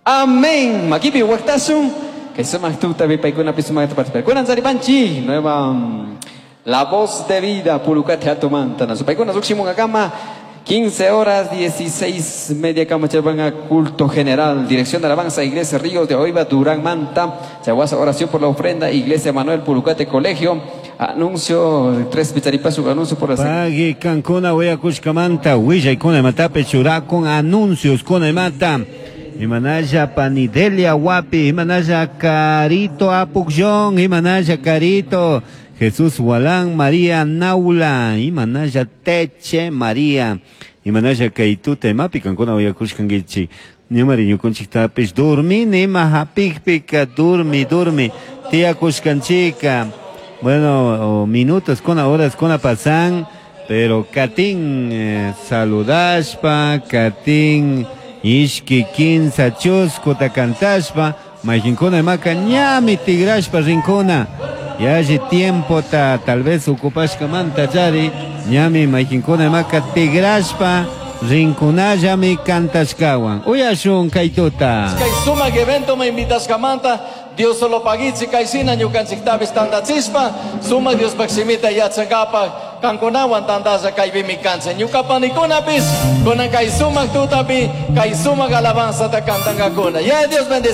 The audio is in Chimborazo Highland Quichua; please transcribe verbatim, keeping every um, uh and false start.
Amén. Makipi waqtasun. Kay sumaq tutapi paykunapi sumaqta participar. Kunan saripanchi nueva mm, La Voz de Vida Pulucate Hatumanta. Paykuna lluqshimunkakama quince horas dieciséis media kama a culto general. Dirección de alabanza, Iglesia Ríos de Oiva, Durán Manta. Chahuasa, oración por la ofrenda, Iglesia Manuel Pulucate Colegio. Anuncio, tres picharipasu, anuncio por la Pagui kankuna willakushkamanta willaykuna imatapi churakun anuncios kuna imata imanalla Panidelia Wapi, imanalla Carito Apukllón, imanalla Carito Jesús Walán, María Naula, imanalla Teche María, imanalla kaytuta imapi kankuna willakushkankichik ñamari ñukunchiktapis durmini ima hapikpika durmi durmi tiyakushkanchika. Bueno, minutos kuna horas kuna pasan, pero katin eh, saludashpa, katin ishki kinsa chuskuta cantashpa, mayqinkuna imaka ñami tigrashpa rinkuna. Yalli tiempo ta tal vez ocupashkamanta chari, ñami mayqinkuna imaka tigrashpa rinkunallami cantashkawan. Uyashun kaytuta. Kay sumaq evento me invitashkamanta Dios solo pagichi kaysina ñukanchiktapis tantachispa sumaq Diospaq simita yachankapaq kankunawan tantalla kaypimi kanchik ñuka panikunapis kunan kay sumaq tutapi kay sumaq alabanzata cantankakuna. Ya Dios bendice.